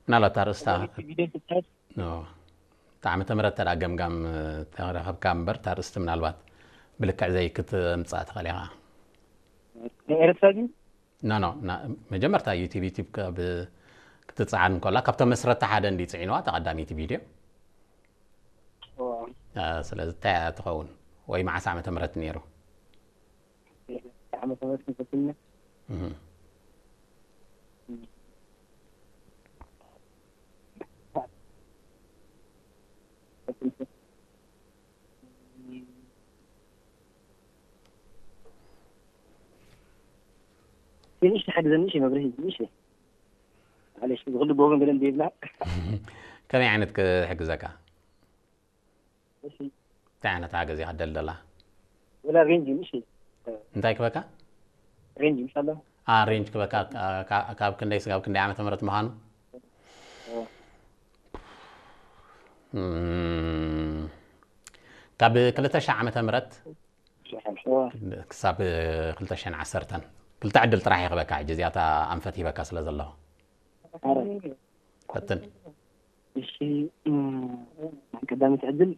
ምናልባት ኣርእስታ ኖ፣ እታ ዓመተ ምህረት ተዳ ገምጋም ተረኸብካ እምበር፣ እታ ኣርእስቲ ምናልባት ብልክዕ ዘይክትምጻእ ትኽእል ኢኻ። ናይ ኤርትራ ድዩ? ኖ ኖ፣ ና- መጀመርታ ዩቲብ ዩቲብ ካብ ክትጽዓን እንከላ ካብቶም መስረቲ ሓደ እንዲ ጽዒንዋ እታ ቀዳመይቲ ቪድዮ። ስለዚ እንታይ እያ ትኸውን? ወይ መዓስ ዓመተ ምህረት ነይሩ? ዓመተ ምህረት ንፈትነ እህ። ትንሽ ትሓግዘኒ እሺ መብርሂ ትንሽ። ማለሽ ዝኽሉ ጎበን ገለ እንዴብላ ከመይ ዓይነት ክሕግዘካ? እሺ እንታይ ዓይነት ሓገዝ ኢኻ ደልደላ? ወላ ሬንጅ እሺ እንታይ ክበካ? ሬንጅ ኢንሻአላህ አ ሬንጅ ክበካ ካ- ካ- ካብ ክንደይ ስጋብ ክንደይ ዓመተ ምህረት ምዃኑ? እም፣ ካብ ክልተ ሺሕ ዓመተ ምህረት ክሳብ ክልተ ሽሕን ዓሰርተን ክልተ ዕድል ጥራሕ ይኽበካ። ሕጂ እዚኣታ ኣንፈት ሂበካ ስለ ዘለኹ ፈትን። እሺ ቀዳሚት ዕድል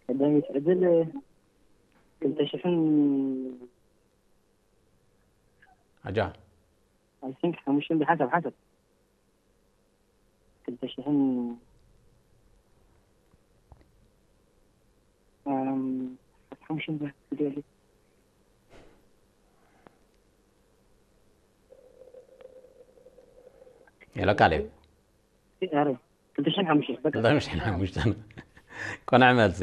ቀዳሚት ዕድል ክልተ ሽሕን ኣጃ I think ሓሙሽተን ብሓሳብ ሓሳብ ክልተ ሽሕን ኣም፣ ሓሙሽተን ብሓሳብ ሄሎ ካሌብ ኧረ ክልተ ሽሕን ሓሙሽተን በቃ ክልተ ሽሕን ሓሙሽተን ቆንዕ መልሲ።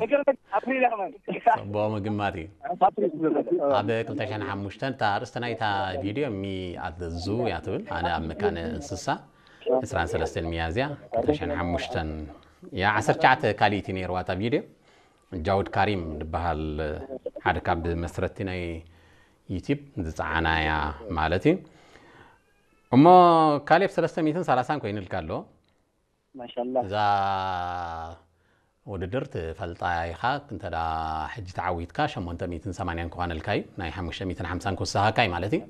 መገረመ ኣፕሪል ኣማን ጽቡቕ ምግማት እዩ። ኣፕሪል ኣብ ክልተ ሽሕን ሓሙሽተን እታ ኣርእስቲ ናይታ ቪድዮ ሚ ኣት ዘ ዙ እያ ትብል። ኣነ ኣብ መካነ እንስሳ ዕስራን ሰለስተን ሚያዝያ ክልተ ሽሕን ሓሙሽተን እያ። ዓሰርተ ትሽዓተ ካልኢት እዩ ነይርዋ እታ ቪድዮ። ጃውድ ካሪም ዝበሃል ሓደ ካብ መስረቲ ናይ ዩቲብ ዝፀዓና እያ ማለት እዩ። እሞ ካሌብ ሰለስተ ሚእትን ሰላሳን ኮይኑልካ ኣሎ። ማሻላ እዛ ውድድር ትፈልጣ ኢኻ። እንተዳ ሕጂ ተዓዊትካ ሸሞንተ ሚእትን ሰማንያን ክኾነልካ እዩ። ናይ ሓሙሽተ ሚእትን ሓምሳን ክውስኻካ እዩ ማለት እዩ።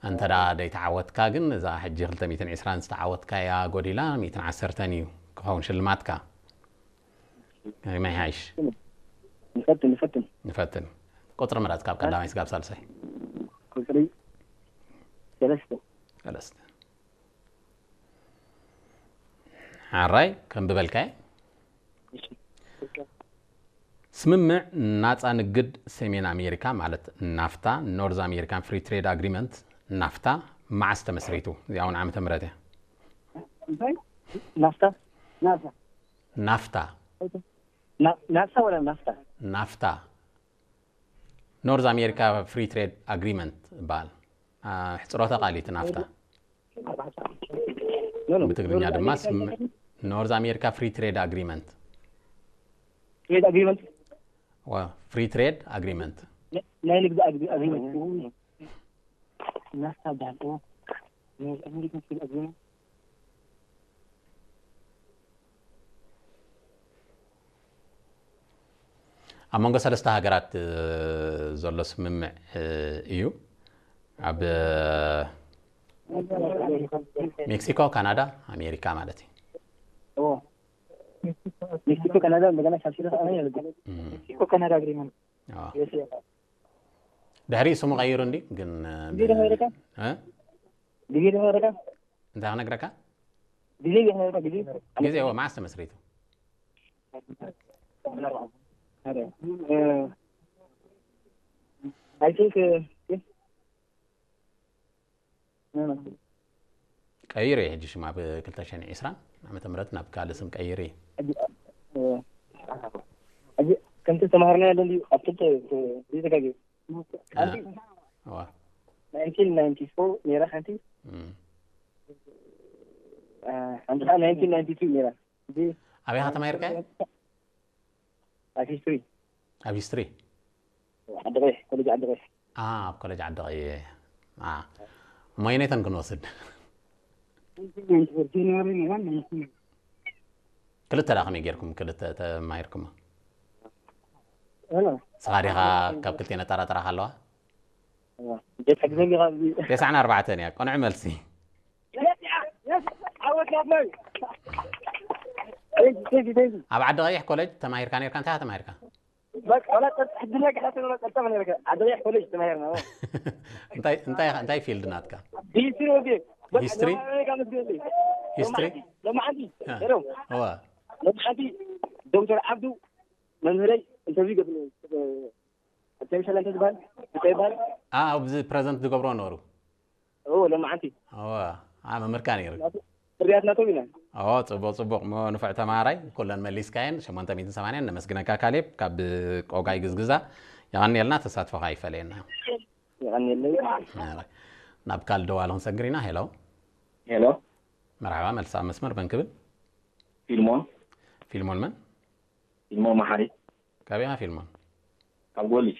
እንተዳ ደይተዓወትካ ግን እዛ ሕጂ ክልተ ሚእትን ዕስራን ዝተዓወትካያ ጎዲላ ሚእትን ዓሰርተን እዩ ክኸውን ሽልማትካ። ከመይ ሓይሽ? ንፈትን ንፈትን ንፈትን። ቁፅሪ ምረፅ ካብ ቀዳማይ ስጋብ ሳልሳይ። ቁፅሪ ሰለስተ ሰለስተ። ሓራይ ከም ብበልካየ እሺ ስምምዕ ናፃ ንግድ ሰሜን ኣሜሪካ ማለት ናፍታ፣ ኖርዝ ኣሜሪካን ፍሪ ትሬድ ኣግሪመንት ናፍታ መዓስ ተመስሪቱ? እዚኣ እውን ዓመተ ምህረት እያ። እንታይ ናፍታ ናፍታ ናፍታ ና- ናፍታ ወላ ናፍታ ናፍታ ኖርዝ ኣሜሪካ ፍሪ ትሬድ ኣግሪመንት ይበሃል። አ፣ ሕፅሮተ ቃል እዩ እቲ ናፍታ። ኖ፣ ኖ። ብትግርኛ ድማ ኖርዝ ኣሜሪካ ፍሪ ትሬድ ኣግሪመንት። ትሬድ ኣግሪመንት ፍሪ ትሬድ ኣግሪመንት። ናይ ንግዲ ኣግሪ- ኣግሪመንት ናፍታ በሃል ናይ ኣሜሪካ ትሬድ ኣግሪመንት ኣብ መንጎ ሰለስተ ሃገራት እ፣ ዘሎ ስምምዕ እ፣ እዩ። ኣብ እ፣ ሜክሲኮ፣ ካናዳ፣ ኣሜሪካ ማለት እዩ። ሜክሲኮ ካናዳ እንደገና ሳብሲዲ ከኣ ይልግል እም፣ ሜክሲኮ ካናዳ ኣግሪመንት ኣዎ። ድሕሪ ስሙ ቀይሩ እንዲ ግን እ፣ ግዜ ዶ ነግረካ እ? ግዜ ዶ ነግረካ እንታይ ክነግረካ? ግዜ ዶ ነግረካ ግዜ ግዜ እዎ መዓስ ተመስሪቱ? I think ቀይሩ እዩ። ሕጂ ሽማ ብ ክልተ ሽሕን ዕስራን ዓመተ ምህረት ናብ ካልእ ስም ቀይሩ እዩ። ከምቲ ተማሃርና ያለን ድዩ ኣብ ክልተ ዘይተጋገ እዋ። ናይንቲን ናይንቲ ፎር ነይራ ሓንቲ እም። ሓንቲ ከዓ ናይንቲን ናይንቲ ቱ ነይራ ኣበይ ኢኻ ተማሂርካዮ? ኣብ ሂስትሪ ኣብ ሂስትሪ ዓዲ ቀይሕ ኮሌጅ ዓዲ ቀይሕ ኣብ ኮሌጅ ዓዲ ቀይሕ። እሞ ኣየነይተን ክንወስድ? ጃንዋሪ ዋን ክልተ ዳ ከመይ ጌርኩም ክልተ ተማሂርኩማ? ንስኻ ዲኻ ካብ ክልቴን ኣጠራጥራኻ ኣለዋ? እንዴት ሕግዘኒ ካብዚ ተስዓን ኣርባዕተን እያ። ቅኑዕ መልሲ። ዓወት ናትናይ። Thank you, thank you, thank you. ኣብ ዓዲ ቀይሕ ኮሌጅ ተማሂርካ ነርካ? እንታይ ኢኻ ተማሂርካ? በቃ ወላ ጸጥ ሕድና ከሓተ ወላ ጸጥ ምን ይረከ ዓደያ ኮሌጅ ተማሂርና። እንታይ እንታይ እንታይ ፊልድ ናትካ? ሂስትሪ ወዲ ሂስትሪ? ሂስትሪ? ለማዓንቲ እ። ሄሎም እዋ ለማዓንቲ ዶክተር ዓብዱ መምህረይ ኢንተርቪው ገብርኒ። ኣርቲፊሻል እንተ ዝበሃል እንታይ ይበሃል? ኣ ኣብዚ ፕረዘንት ዝገብሮ ነበሩ። ኦ ለማዓንቲ እዋ ኣ መምህርካ ነይሩ። ፍርያት ናቶም ኢና። ኦ ጽቡቕ ጽቡቕ። ሞ ንፉዕ ተማሃራይ ኩለን መሊስካየን ሸሞንተ ሚእትን ሰማንያን። ነመስግነካ ካሌብ ካብ ቆጋይ ግዝግዛ። የቐንየልና፣ ተሳትፎኻ ይፈለየና። የቐንየለይ። ኣረ፣ ናብ ካልእ ደዋል ክንሰግር ኢና። ሄሎ ሄሎ መርሓባ፣ መልስ ኣብ መስመር መን ክብል? ፊልሞን ፊልሞን መን? ፊልሞን መሓሪ ካበይ ኢኻ ፊልሞን? ካብ ጎልጅ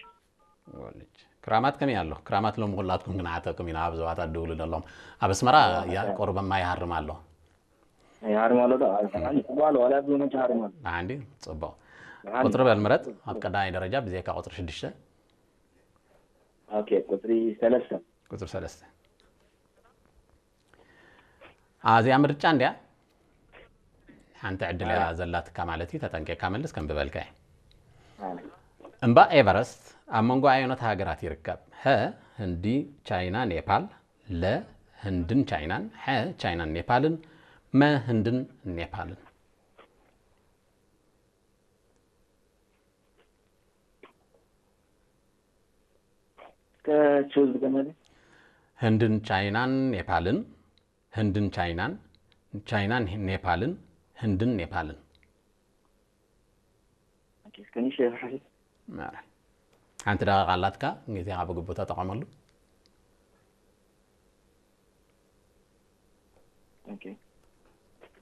ወልጅ። ክራማት ከመይ ኣሎ? ክራማት ሎም ኩላትኩም ክንዓተኩም ኢና፣ ኣብ ዞባታት ድውሉ ደሎም። ኣብ ኣስመራ ያ ቁርብ ማይ ይሃርም ኣሎ። ይሃርም ኣሎ ዶ? ኣይ፣ ጽቡቕ ኣሎ፣ ዋላ ኣብዚ መቸ ሃርም ኣሎ። ብሓንዲ ጽቡቕ። ብሓንዲ። ቁጽሪ በል ምረጥ። ኣብ ቀዳማይ ደረጃ ብዘይካ ቁጽሪ ሽዱሽተ። ኦኬ፣ ቁጽሪ ሰለስተ። ቁጽሪ ሰለስተ። ኣዚኣ ምርጫ እንድያ። ሓንቲ ዕድል እያ ዘላትካ ማለት እዩ። ተጠንቂቕካ መልስ ከም ዝበልካ እዩ። እምባ ኤቨረስት ኣብ መንጎ ኣየኖት ሃገራት ይርከብ? ሀ ህንዲ፣ ቻይና፣ ኔፓል። ለ ህንድን ቻይናን። ሐ ቻይናን ኔፓልን። መ ህንድን ኔፓልን። ከ ቹዝ ገመደ ህንድን ቻይናን ኔፓልን። ህንድን ቻይናን። ቻይናን ኔፓልን። ህንድን ኔፓልን። እስከ ንእሽተይ ይፍሓሽ። ማራ። ሓንቲ ደቂቃ ኣላትካ፣ ግዜኻ ብግቡእ ተጠቐመሉ። ኦኬ።